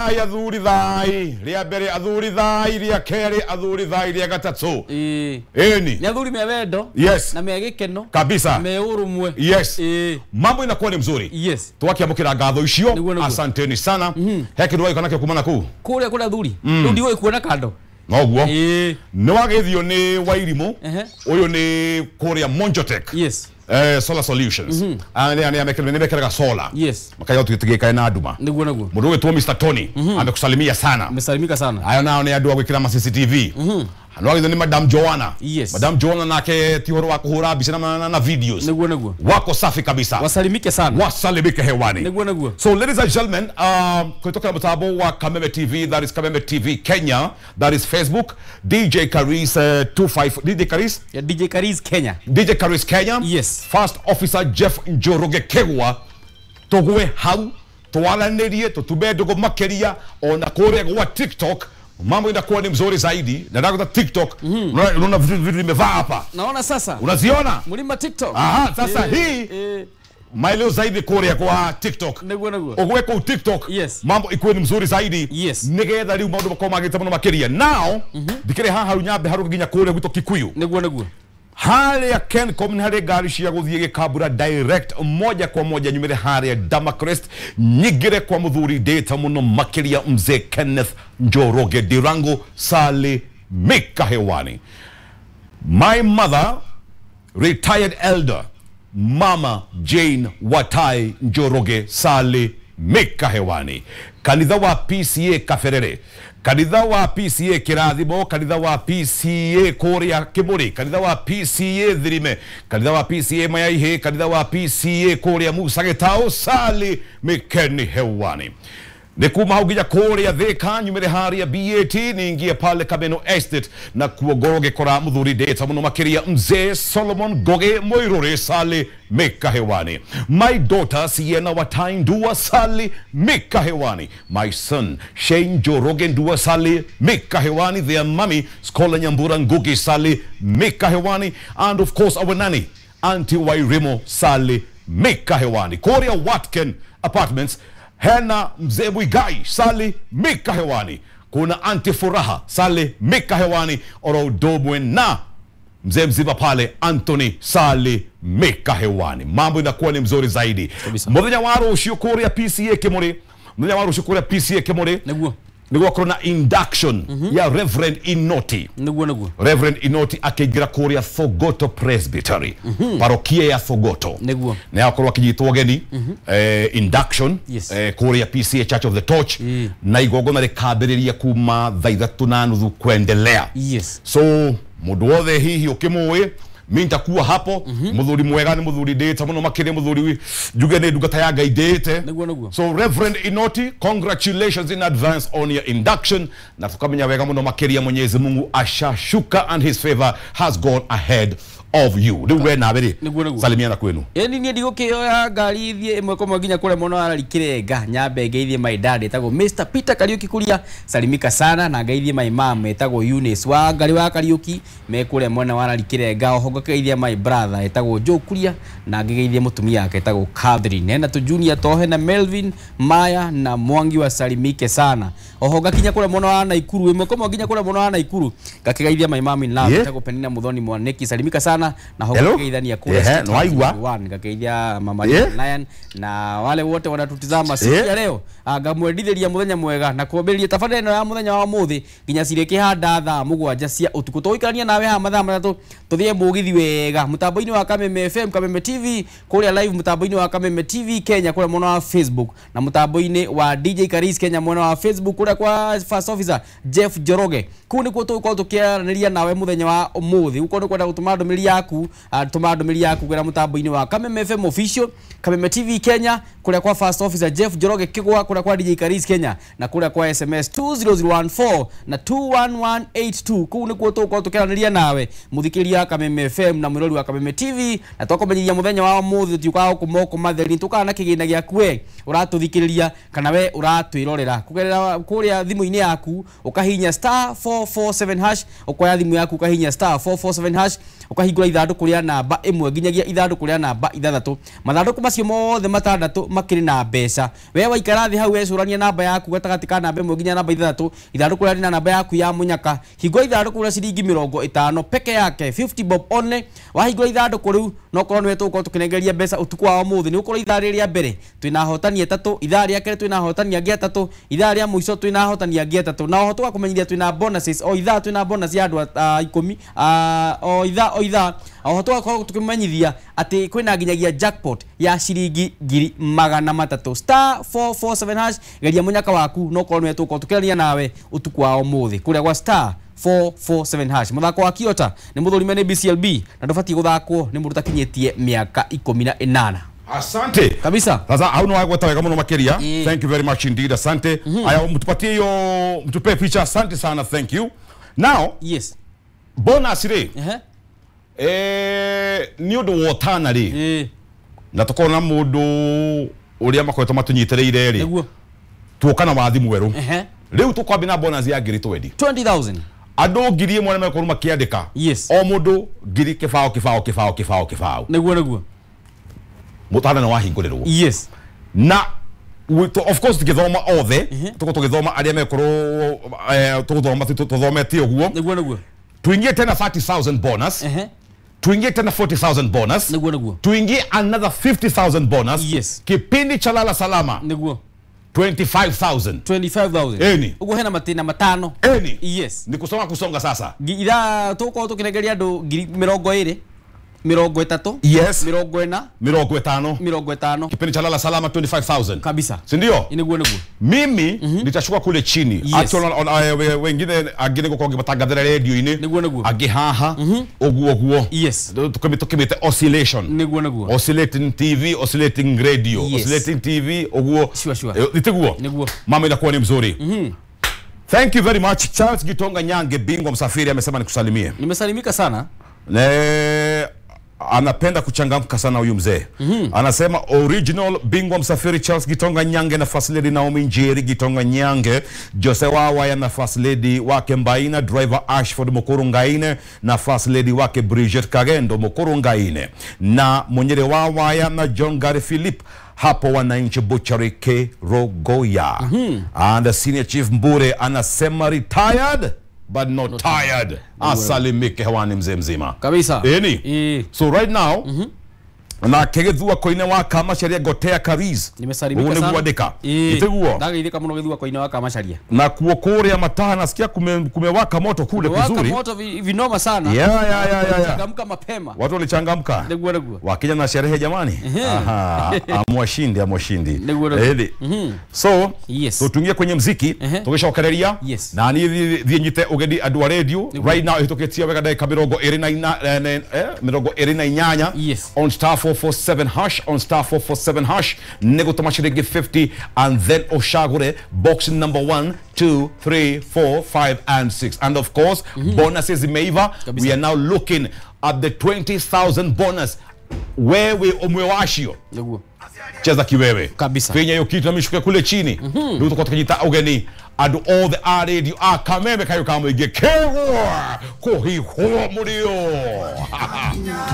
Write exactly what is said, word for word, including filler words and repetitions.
Athuri thai ria mbere, athuri thai ria keri, athuri thai ria gatatu. Ĩĩ. Ĩni. Nĩ athuri me wendo. Yes. Na me gĩkeno. Kabisa. Me ũrũmwe. Yes. Ĩĩ. Mambo inakuwa ni mzuri. Yes. Twakiamũkĩra ngatho icio. Nĩguo, nĩguo. Asanteni sana. He kĩndũ wagĩka nakĩo kuma nakũu? Kũrĩa kũrĩa athuri. Rĩu ndiũĩ kuona kando. Noguo. Ĩĩ. Nĩ wagĩthio nĩ Wairimũ. Ehe. Ũyũ nĩ kũrĩa Monjotech. Yes. Eh, solar solutions. Ah, nĩ nĩ nĩ mekĩraga solar. Yes. Makaiga tũtigĩkae na nduma. Nĩguo nĩguo. Mũndũ ũgĩtwo Mister Tony amekusalimia sana. Amesalimika sana. Ayo nao nĩ andũ a gwĩkĩra ma C C T V. Nĩ wagĩthio nĩ Madam Joanna. Yes. Madam Joanna nake ti ũhoro wa kũhũra mbica na, na, na videos. Nĩguo nĩguo. Wako safi kabisa. Wasalimike sana. Wasalimike hewani. Nĩguo nĩguo. So ladies and gentlemen, um, kutoka mtambo wa Kameme T V, that is Kameme T V Kenya, that is Facebook, D J Karis uh, twenty-five, D J Karis, Ya D J Karis Kenya. D J Karis Kenya. Yes. First Officer Jeff Njoroge Kegwa, tugwe hau, twaranĩrie, tutume ndũgũ makĩria, ona kũrĩa gwa TikTok, mambo inakuwa ni mzuri zaidi. Na ndagũta TikTok, unaona unaona vitu vitu nimevaa hapa. Naona sasa. Unaziona? Mlima TikTok. Aha, sasa Eh, hii eh, maelezo zaidi kũrĩa kwa TikTok. Nĩguo nĩguo. Ũgwe kũu TikTok, Yes. mambo ikuwe ni mzuri zaidi. Yes. Nigetha rĩu maũndũ makorwo magĩte mũno makĩria. Now ndikĩrĩ haha rĩu nyambe harũke nginya kũrĩa gwitũ Kikuyu. Nĩguo nĩguo. Harĩa Kencom nĩ harĩ ngari cia gũthiĩ Gĩkambura direct, moja kwa moja nyumĩre harĩa Damacrest, nyingĩre kwa mũthuri ndĩta mũno makĩria, mzee Kenneth Njoroge Ndirango Sali Mika hewani. My mother, retired elder Mama Jane Watai Njoroge Sali Mika hewani. Kanitha wa P C A Kaberere, kanitha wa P C A Kirathimo, kanitha wa P C A kũrĩa Kĩmũrĩ, kanitha wa P C A Thirime, kanitha wa P C A Mayaihe, kanitha wa P C A kũrĩa Musa Gĩtaũ, Sali Mikeni hewani. Nĩ kuma hau nginya kũrĩa Thĩka, nyumĩre harĩa B A T, ningie pale Kameno Estate na kuo ngorwo ngĩkora mũthuri ndĩta mũno makĩria, mzee Solomon Ngoge Mũirũrĩ Sali Mika hewani. My daughter Siena Watai Ndua Sali Mika hewani. My son Shane Njoroge Ndua Sali Mika hewani. Their mummy Scholar Nyambura Ngugi Sali Mika hewani. And of course our nanny Auntie Wairimo Sali Mika hewani. Korea Watkin Apartments hena mzee Mwigai Sali Mika hewani. Kuna Auntie Furaha Sali Mika hewani oro udomwe na mzee mzima pale Anthony Sali Mika hewani. Mambo inakuwa ni mzuri zaidi. Kabisa. Muthenya wa rũciũ kũrĩa P C A Kĩmũrĩ, muthenya wa rũciũ kũrĩa P C A Kĩmũrĩ, Nĩguo. nĩ gwakorwo na induction ya Reverend Inoti. Nĩguo nĩguo. Reverend Inoti akĩingĩra kũrĩa Thogoto Presbytery, parokia ya Thogoto. Nĩguo. Nĩ akorwo akĩnyitwo ũgeni, eh, induction, Yes. eh, kũrĩa P C A Church of the Torch, Mm. na igongona rĩkambĩrĩria kuma thaa ithatũ na nuthu kuendelea. Yes. So mũndũ wothe hihi ũkĩmũĩ, mi nitakuwa hapo. Mũthuri mwega, nĩ mũthuri ndĩte mũno makĩria, mũthuri njuge nĩ ndungata ya Ngai ndĩte. Nĩguo nĩguo. So Reverend Inoti, congratulations in advance on your induction, na tukamenya wega mũno makĩria Mwenyezi Mungu ashashuka and his favor has gone ahead of you. Rĩu we nawe rĩ, Nĩguo, nĩguo. salimiana kwenu. Ĩni niĩ ndigũkĩoya ngari thiĩ ĩmwe kwa ĩmwe nginya kũrĩa mwena wa Rari Kĩrenga, nyambe ngeithie my dad etagwo Mister Peter Kariuki Kuria, salimika sana, na ngeithie my mom etagwo Eunice wa Ngari wa Kariuki me kũrĩa mwena wa Rari Kĩrenga. Oho ngakeithia my brother etagwo Joe Kuria na ngĩgeithie mũtumia wake etagwo Catherine, hena tu Junior Tohe na Melvin Maya na Mwangi wa salimike sana. Oho ngakinya kũrĩa mwena wa Naikuru, ĩmwe kwa ĩmwe nginya kũrĩa mwena wa Naikuru, ngakĩgeithia my mom in love Yeah. etagwo Penina Muthoni Mwaniki, salimika sana, na ho Hello? ngakĩgeithania kũrĩa Ehe, State House nĩwaigua? One, ngakeithia mama Yeah. Lion na wale wote wanatutizama siku Yeah. ya leo. Ah, ngamwendithĩria mũthenya mwega na kwambĩrĩria tabarĩra ĩno ya mũthenya wa ũmũthĩ nginya cirĩkĩhanda thaa mũgwanja cia ũtukũ. Tũgũikarania nawe haha mathaa matatũ, tũthiĩ mũgithi wega mũtambo-inĩ wa Kameme F M, Kameme T V kũrĩa live, mũtambo-inĩ wa Kameme T V Kenya kũrĩa mwena wa Facebook, na mũtambo-inĩ wa D J Karis Kenya mwena wa Facebook, kũrĩa kwa First Officer Jeff Njoroge. Kũu nĩkuo tũgũkorwo tũkĩaranĩria nawe mũthenya wa ũmũthĩ. Ũkorwo nĩ kwenda gũtũma ndũmĩrĩri yaku, ah, tũma ndũmĩrĩri yaku kũgerera mũtambo-inĩ wa Kameme F M Official, Kameme T V Kenya, kũrĩa kwa First Officer Jeff Njoroge Kigwa, kũrĩa kwa D J Karis Kenya, na kũrĩa kwa S M S two zero zero one four na two one one eight two. Kũu nĩkuo tũgũkorwo tũkĩaranĩria nawe, mũthikĩrĩria wa Kameme F M na mwĩrori wa Kameme T V, na twakũmenyithia mũthenya wa ũmũthĩ tũtiũkaga gũkũ moko matheri. Tũkaga na kĩgĩna gĩaku we ũratũthikĩrĩria kana we ũratwĩrorera kũgerera kũrĩa thimũ-inĩ yaku, ũkahihinya star four four seven hash, ũkoya thimũ yaku ũkahihinya star four four seven hash, ũkahingũra. Tũkũhingũra ithandũkũ rĩa namba ĩmwe nginyagia ithandũkũ rĩa namba ithathatũ. Mathandũkũ macio mothe matandatũ makĩrĩ na mbeca. We waikara thĩ hau wecũrania namba yaku gatagatĩ ka namba ĩmwe nginya namba ithathatũ, ithandũkũ rĩa rĩna namba yaku ya mũnyaka. Hingũra ithandũkũ rĩa ciringi mĩrongo ĩtano peke yake, fifty bob only. Wahingũra ithandũkũ rĩu no korwo nĩwe tũgũkorwo tũkĩnengeria mbeca ũtukũ wa ũmũthĩ. Nĩ gũkorwo ithaa rĩrĩ rĩa mbere twĩna ahotani atatũ, ithaa rĩa kerĩ twĩna ahotani angĩ atatũ, ithaa rĩa mũico twĩna ahotani angĩ atatũ. Na oho tũgakũmenyithia twĩna bonuses, o ithaa twĩna bonus ya andũ a ikũmi, o ithaa o ithaa. Oho tũgakorwo tũkĩmenyithia atĩ kwĩna nginyagia jackpot ya ciringi ngiri magana matatũ. Star four four seven hash, geria mũnyaka waku no korwo nĩwe tũgũkorwo tũkĩaria nawe ũtukũ wa ũmũthĩ kũrĩa gwa star four four seven hash. Mũthako wa Kiota nĩ mũthũrime nĩ B C L B na ndũbatiĩ gũthakwo nĩ mũndũ ũtakinyĩtie mĩaka ikũmi na ĩnana. Asante. Kabisa. Sasa hauna wagweta wega muno makiria. Mm. Thank you very much indeed. Asante. Mm -hmm. Aya mtupatie hiyo, mtupe picha. Asante sana. Thank you. Now, yes. Bonus ri. Uh -huh. Eh, ni undu wotana ri. Eh. Na tukona mundu uria makoretwo matunyitereire ri. Niguo. Tuoka na wathi mweru. Uh -huh. Riu tukwambia na bonus ya ngiri twenty. twenty thousand. Andũ ngiri ĩmwe nĩmekorwo makĩandĩka. Yes. O mũndũ ngiri kĩbao kĩbao kĩbao kĩbao kĩbao. Niguo niguo. Mutana na wahingũrĩrwo. Yes. Na of course tugithoma othe, tuko tugithoma aria mekorwo tuguthoma tuthomete ũguo. Niguo niguo. Tuingie tena thirty thousand bonus. Uh-huh. Tuingie tena forty thousand bonus. Niguo niguo. Tuingie another fifty thousand bonus. Yes. Kipindi cha Lala Salama. Niguo. twenty-five thousand. twenty-five thousand. Eni. Ugo hena matina matano. Eni. Yes. Ni kusonga kusonga sasa. Ira tuko tukinegeria andu ngiri mirongo iri. Mirongo itatu. Yes. Mirongo ina. Mirongo itano. Mirongo itano. Kipindi cha Lala Salama twenty-five thousand. Kabisa. Si ndio? Niguo niguo. Mimi mm -hmm. nitashuka kule chini. Yes. Actually wengine angine gukorwo ngimatangathira radio-ini. Niguo niguo. Angi haha. Mm -hmm. Uguo uguo. Yes. Tukimite oscillation. Niguo niguo. Oscillating T V, oscillating radio, yes. Oscillating T V uguo. Sure sure. Nitiguo. Niguo. Mama inakuwa ni mzuri. Mm -hmm. Thank you very much. Charles Gitonga Nyange, bingwa msafiri, amesema nikusalimie. Nimesalimika sana. Ne, anapenda kuchangamka sana huyu mzee. Mm -hmm. Anasema original bingwa msafiri Charles Gitonga Nyange na first lady Naomi Njeri Gitonga Nyange, Jose Wawa na first lady wake Mbaina, driver Ashford Mukuru Ngaine na first lady wake Bridget Kagendo Mukuru Ngaine, na Monyere Wawa na John Gary Philip hapo wananchi Butchery K Rogoya. Mm -hmm. And the senior chief Mbure anasema retired but not, not tired. Asalimike hewani mzee mzima. Kabisa. Eni. E. So right now, mm -hmm. na kegethua koine wa kama sheria gotea kariz. Nimesalimika sana. Uone Itiguo. Ndagithika muno githua koine wa kama sheria. Na kuo kuria mataha nasikia kume, kumewaka moto kule kumewaka kuzuri. Moto vinoma sana. Yeah, yeah, yeah, yeah, yeah. Changamka mapema. Watu walichangamka. Niguo niguo. Wakija na sherehe jamani. Aha, amwashindi amwashindi. Niguo niguo. Eni. Mm -hmm. So, yes. So tuingie kwenye mziki, tukishaokereria. Yes. Na ni thie nyite ugeni andu a radio. Right now itukitia wega ndagika mirongo iri na ina eh mirongo iri na inyanya. Yes. On star four four seven hash, on star four four seven hash negutoma shiringi fifty and then ushagure box number one, two, three, four, five and six. And of course, mm -hmm. bonuses imeiva. Kabisa. We are now looking at the twenty thousand bonus. Wewe umewashio. Niguo. Cheza kiwewe. Kabisa. Fenya hiyo kitu na mishuke kule chini. Mm -hmm. Ndio tuko tukijita ugeni and all the R radio akameme kayo kama ige kewo kuhiho murio.